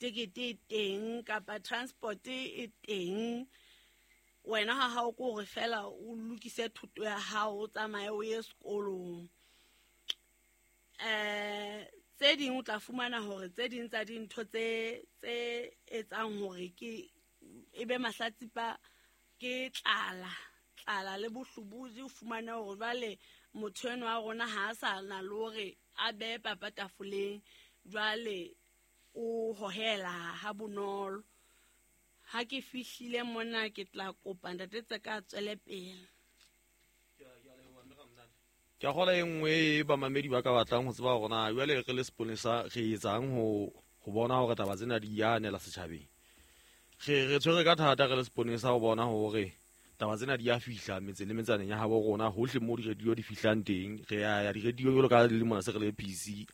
Tekete e teng kapa transport e teng. Wena ha hao ke hore feela o lokise thoto ya hao, o tsamaye o ye sekolong. Tse ding o tla fumana hore tse ding tsa dintho tse etsang hore ke e be mahlatsipa ke tlala, tlala le bohlobodi. O fumane hore jwale motho enwa wa rona ha a sa na le hore a behe papa tafoleng, jwale o hohela ha bonolo. Ha ke fihlile mona ke tla kopa ntate Tseka a tswele pele. Ke a kgola e nngwe e bamamedi ba ka batlang ho tseba hore na jwale re le seponesa re etsang ho bona hore taba tsena di ya anela setjhabeng. Re tshwere ka thata re le seponesa ho bona hore taba tsena di ya fihla metseng le metsaneng ya habo rona, hohle mo di-radio di fihlang teng. Re ya ya di-radio jwalo ka le mona se re le PC,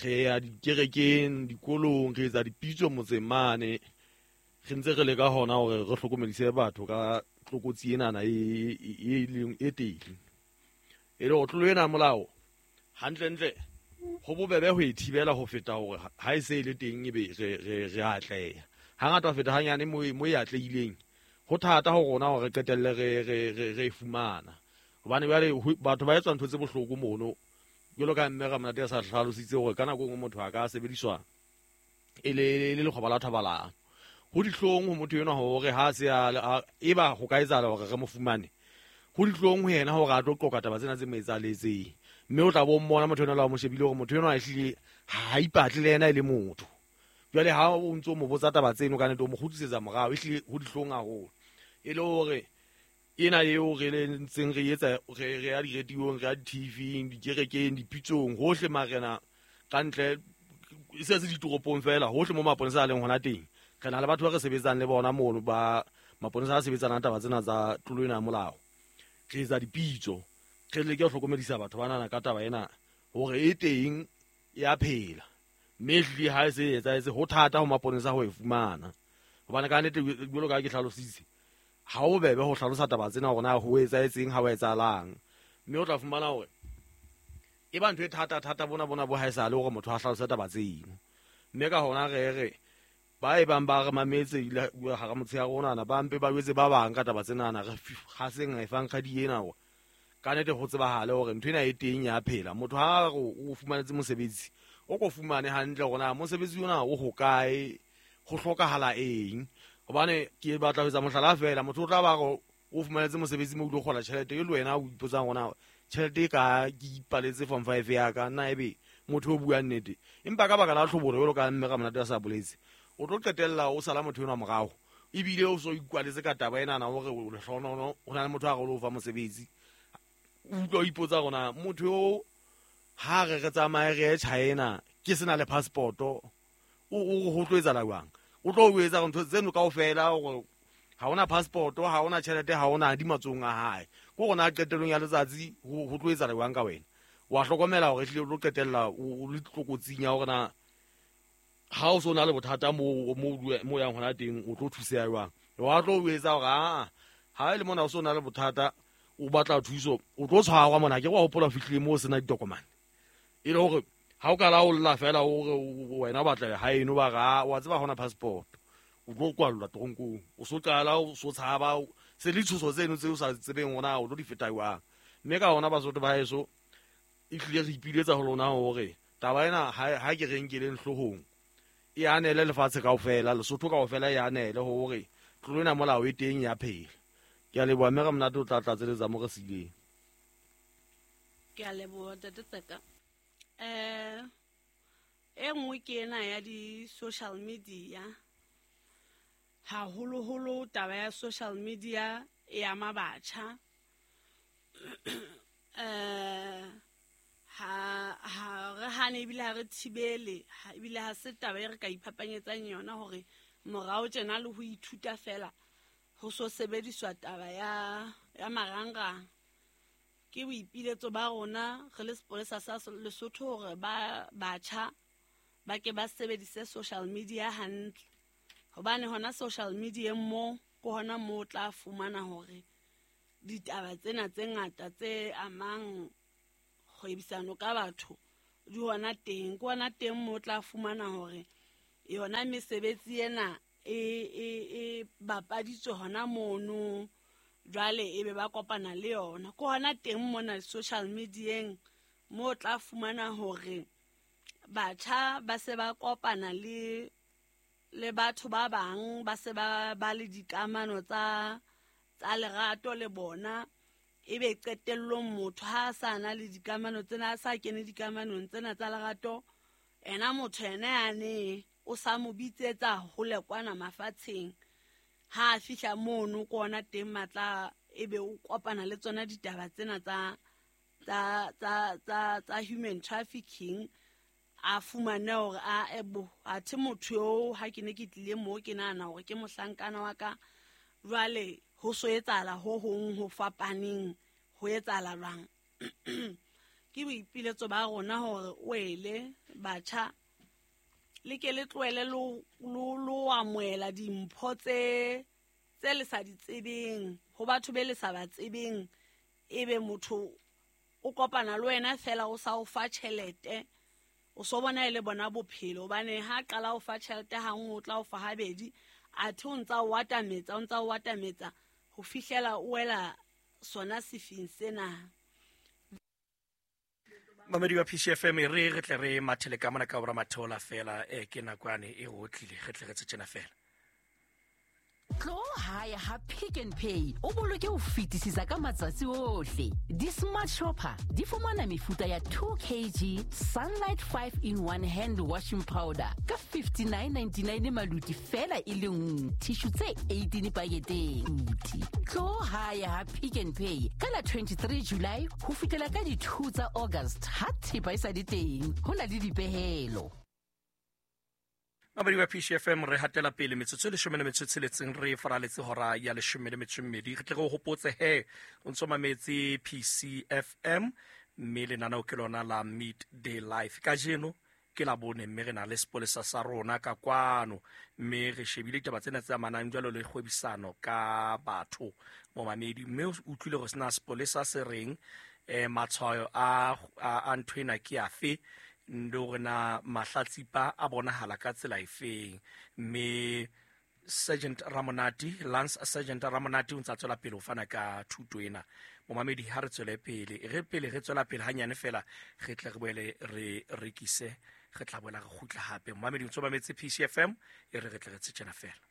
re ya dikerekeng, dikolong, re etsa dipitso motseng mane, re ntse re leka hona hore re hlokomedise batho ka tlokotsi enana e leng e teng. E le hore tlolo ena ya molao hantlentle ho bobebe ho e thibela ho feta hore ha e se e le teng ebe re atleha. Hangata ho feta hanyane mo e atlehileng, ho thata ho rona hore re qetelle re e fumana. Hobane jwale batho ba etsa ntho tse bohloko mono, jwalo ka mme Ramonate a sa hlalositse hore ka nako e nngwe motho a ka sebediswa e le lekgoba la thobalano. Ho dihlong ho motho enwa hore ha se a, eba ho ka etsahala hore re mo fumane, ho dihlong ho yena hore a tlo qoqa taba tsena tse mo etsahaletseng. Mme o tla bo mmona motho enwa le ha o mo shebile hore motho enwa ehlile ha ipatle le yena e le motho. Jwale ha o ntso mo botsa taba tseno, ka nnete o mo kgutlisetsa morao, ehlile ho dihlong haholo. E le hore ena eo re le ntseng re etsa, re ya di-radio-ong, re ya di-T_V-ing, dikerekeng, dipitsong, hohle marena ka ntle, e se se ditoropong fela, hohle mo maponesa a leng hona teng. Re na le batho ba re sebetsang le bona mono, ba maponesa a sebetsanang taba tsena tsa tlolo ena ya molao. Re etsa dipitso, re leke ho hlokomedisa batho banana ka taba ena hore e teng, ya phela. Mme ehlile ha e se e etsahetse, ho thata ho maponesa ho e fumana. Hobane ka nnete, jwalo ka ha ke hlalositse, ha ho bobebe ho hlalosa taba tsena hore na ho etsahetseng, ha ho etsahalang. Mme o tla fumana hore e ba ntho e thata-thata bona bona bo haesale hore motho a hlalose taba tseno. Mme ka hona re re ba e bang ba re mametse hara motshehare onana, ba mpe ba jwetse ba bang ka taba tsenana, re haseng efankgadi ena hore ka nnete ho tsebahale hore ntho ena e teng ya phela. Motho ha re o fumanetse mosebetsi, o ko fumane hantle hore na mosebetsi ona o hokae, ho hlokahala eng. Hobane ke batla ho etsa mohlala feela, motho o tla ba re o fumanetse mosebetsi mo o tlo kgola tjhelete e le wena o ipotsang hore na tjhelete e ka ke ipaletse form 5 ya ka, nna ebe motho o buang nnete. Empa ka baka la tlhobolo jwalo ka mme Ramonate a sa boletse, o tlo qetella o sala motho enwa morao, ebile o so ikwaletse ka taba enana hore o lehlohonono, ho na le motho a re o lo fa mosebetsi. O utlwa o ipotsa hore na motho eo ha re re tsamaye re ye China ke sena le passport-o, o ho tlo etsahala jwang? O tlo o etsa ntho tseno kaofela hore ha hona passport, ha hona tjhelete, ha hona di matsohong a hae. Ke hore na qetellong ya letsatsi ho tlo etsahala jwang ka wena? Wa hlokomela hore ehlile o tlo qetella o le tlokotsing ya hore na ha o so na le bothata mo yang hona teng, o tlo thuseha jwang? Wa tlo o etsa hore ha e le mona o so na le bothata, o batla thuso, o tlo tshwarwa mona. Ke wa hopola o fihlile moo o sena ditokomane. E le hore ha o ka la o lla fela o re wena o batla haeno, ba re, wa tseba ha hona passport, o tlo kwallwa toronkong. O so qala o so tshaba, se le tshoso tseno tse o sa tsebeng hore na o tlo di feta jwang. Mme ka hona Basotho ba heso, ehlile re ipiletsa ho lona hore taba ena ha ke re nkeleng hloohong, e anele lefatshe kaofela, Lesotho kaofela e anele hore tlolo ena molao e teng ya phela. Ke a leboha mme Ramonate o tla tlatseletsa mo re sileng. Ke a leboha ntate Tseka. E nngwe ke ena ya di-social media. Haholoholo taba ya social media e ama batjha. Ha re hane ebile ha re thibele, ebile ha se taba e re ka iphapanyetsang yona hore morao tjena le ho ithuta fela ho so sebediswa taba ya marangrang. Ke boipiletso ba rona re le sepolesa sa Lesotho hore ba batjha ba ke ba sebedise social media hantle. Hobane hona social media mo ke hona mo o tla fumana hore ditaba tsena tse ngata tse amang kgwebisano ka batho di hona teng. Ke hona teng mo o tla fumana hore yona mesebetsi ena e bapaditswe hona mono. Jwale ebe ba kopana le yona ke hona teng mona social medieng mo tla fumana hore batjha ba se ba kopana le batho ba bang, ba se ba le dikamano tsa lerato le bona. Ebe qetellong motho ha a sa na le dikamano tsena, a sa kene dikamanong tsena tsa lerato, ena motho ena yane o sa mo bitsetsa hole kwana mafatsheng. Ha a fihla mono ke ona teng matla ebe o kopana le tsona ditaba tsena tsa human trafficking. A fumane hore a ebo athe motho eo ha ke ne ke tlile moo ke nahana hore ke mohlankana wa ka, jwale ho so etsahala ho hong ho fapaneng, ho etsahala jwang? Ke boipiletso ba rona hore o ele batjha le ke le tlohele lo amohela dimpho tse le sa di tsebeng ho batho be le sa ba tsebeng. Ebe motho o kopana le wena fela o sa o fa tjhelete, o so bona e le bona bophelo. Hobane ha qala o fa tjhelete ha nngwe, o tla o fa habedi, athe o ntsa o atametsa ho fihlela o wela sona sefing sena. Mamedi wa PCFM, re tle re mathele ka mona ka bora matheola fela, ke nakwane e go tlile, re tle re tshena fela. Tlo hae ha Pick n Pay o boloke ho fetisisa ka matsatsi ohle. Di-smart shopper di fumana mefuta ya 2 kg Sunlight 5-in-1 hand washing powder ka 59.99 maluti fela e le nngwe, tissue tse 18 paketeng. Tlo hae ha Pick n Pay ka la 23 July ho fihlela ka di 2 tsa August ha thepa e sa le teng, ho na le dipehelo. Mamedi wa PCFM, re hatela pele metsotso e 16 re faraletse hora ya 12. Re tle re hopotse he o ntso mametse PCFM, mme lenaneo ke lona la Midday Life. Kajeno ke la bone, mme re na le sepolesa sa rona ka kwano, mme re shebile ditaba tsena tse amanang jwalo le kgwebisano ka batho momamedi. Mme o utlwile hore sena sepolesa se reng, matshwayo a ntho ena ke afe, le hore na mahlatsipa a bonahala ka tsela efeng. Mme Sergeant Ramonati, Lance Sergeant Ramonati o ntsa tswela pele ho fana ka thuto ena. Momamedi, ha re tswele pele, re pele re tswela pele hanyane fela, re tle re boele re rekise, re tla boela re kgutla hape. Momamedi o ntso mametse PCFM, e re tle re tshena fela.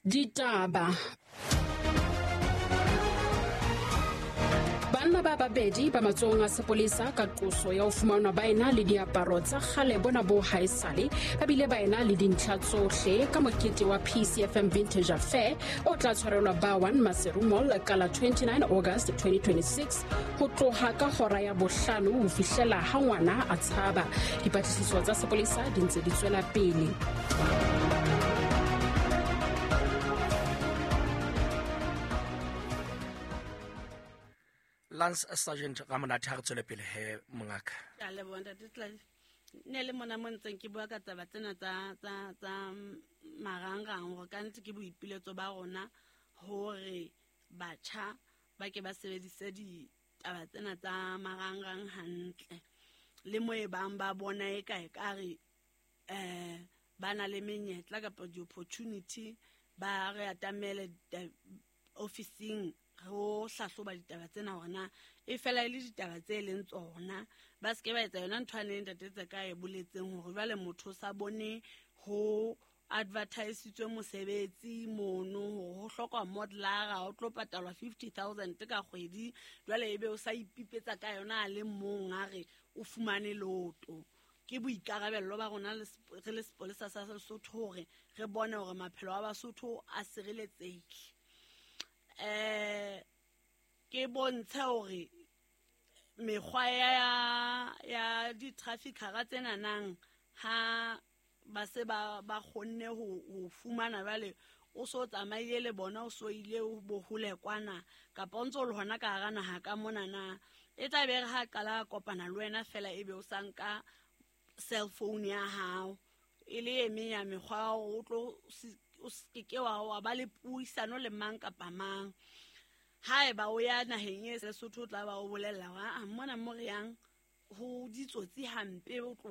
Ditaba. Banna ba babedi ba matsohong a sepolesa ka qoso ya ho fumanwa ba ena le diaparo tsa kgale bona bo haesale, ba bile ba ena le dintlha tsohle ka mokete wa PCFM Vintage Affair o tla tshwarelwa ba 1 Maseru Mall ka la 29 August 2026 ho tloha ka hora ya 5 ho fihlela ha ngwana a tshaba. Dipatlisiso tsa sepolesa di ntse di tswela pele. Lance Sergeant Ramonati, ha re tswele pele he mongaka. Ke a leboha ntate Tladi. Ne le mona mo ntseng ke bua ka taba tsena tsa marangrang, hore ka nnete ke boipiletso ba rona hore batjha ba ke ba sebedise ditaba tsena tsa marangrang hantle. Le mo e bang ba bona e ka ekare ba na le menyetla kapa di-opportunity, ba re atamele ofising ho hlahloba ditaba tsena hore na e fela e le ditaba tse leng tsona. Ba se ke ba etsa yona ntho ane ntate tse ka e boletseng hore jwale motho o sa bone ho advertisitswe mosebetsi mono hore ho hlokwa modelara, o tlo patalwa 50,000 ka kgwedi, jwale ebe o sa ipipetsa ka yona a le mong a re o fumane loto. Ke boikarabello ba rona re le sepolesa sa Lesotho hore re bone hore maphelo a Basotho a sireletsehile. Ke bontshe hore mekgwa ya di-traffickera tsena nang ha ba se ba kgonne ho fumana, jwale o so tsamaile le bona, o so ile bohole kwana kapa o ntso le hona ka hara naha ka mona na, e tla be re ha qala kopana le wena fela ebe o sa nka cell phone ya hao, e le e meng ya mekgwa o tlo o se ke wa ba le puisano le mang kapa mang. Haeba o ya naheng e Lesotho, o tla ba o bolella hore a mona mo re yang ho ditsotsi hampe, o tloha